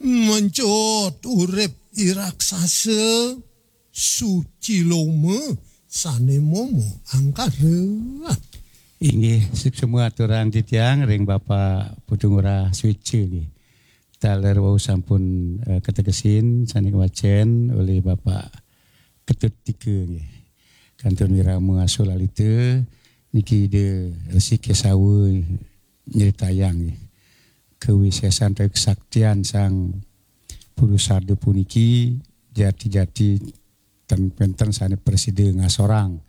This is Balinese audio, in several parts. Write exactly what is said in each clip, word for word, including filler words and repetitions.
Mencut urip i raksasa suci loma sane momo angkara. Inggih, suksma aturang titiang ring Bapak Putu Ngurah Switcha nggih. Taler wau sampun, eh, kategesin sane kawacen olih Bapak Ketut Tika nggih. Kantun wirama Asulalita niki Ida Resi Kesawa nyritayang nggih. Kawisesan utawi kesaktian Sang Purusada puniki jati-jati ten penten sane prasida ngasorang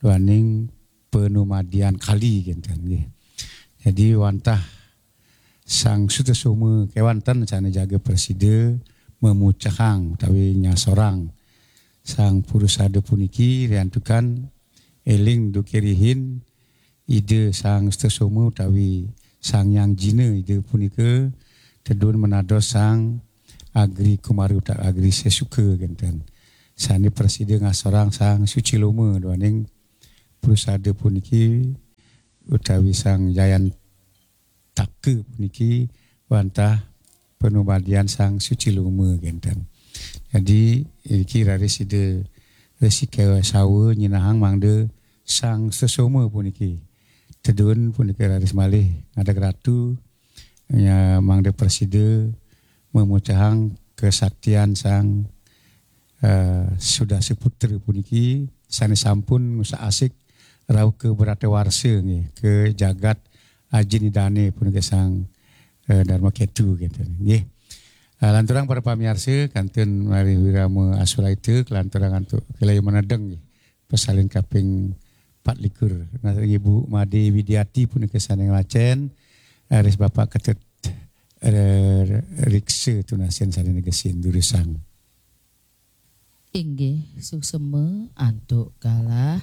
duaning panumadian kali kenten nggih. Jadi wantah Sang Sutasoma kewanten sane jaga prasida mamucehang utawi nyasorang Sang Purusada puniki riantukan eling duke rihin Ida Sang Sutasoma utawi Sang Hyang Jina Ida punika tedun menados Sang Agri Kumara utawi Agri Sesuka kenten. Sane prasida ngasorang Sang Suci Loma duaning Purusada puniki utawi Sang Jayan Taka puniki wantah panumadian Sang Suci Loma kenten. Jadi, niki raris Ida Resi Kesawa nyinahang mangda Sang Sesoma puniki. Tedun punika raris malih ngadeg ratu, ya, mangda prasida mamucehang kesaktian Sang, eh, Sudasa Putra puniki sane sampun ngusak-asik rauh ka Bratawarsa nggih, ka jagat ajin idane punika Sang, eh, Dharma Ketu gitu nggih. Eh, lanturang para pamiarsa kantun mari wirama Asulalita kelanturang antuk kalaya manedeng nggih. Pasalin kaping empat likur. Nah, Ibu Made Widiati punika sane ngwacen, eh, ris Bapak Ketut, eh, Riksa tunasin sane negesin durusang. Inggih, suksema antuk galah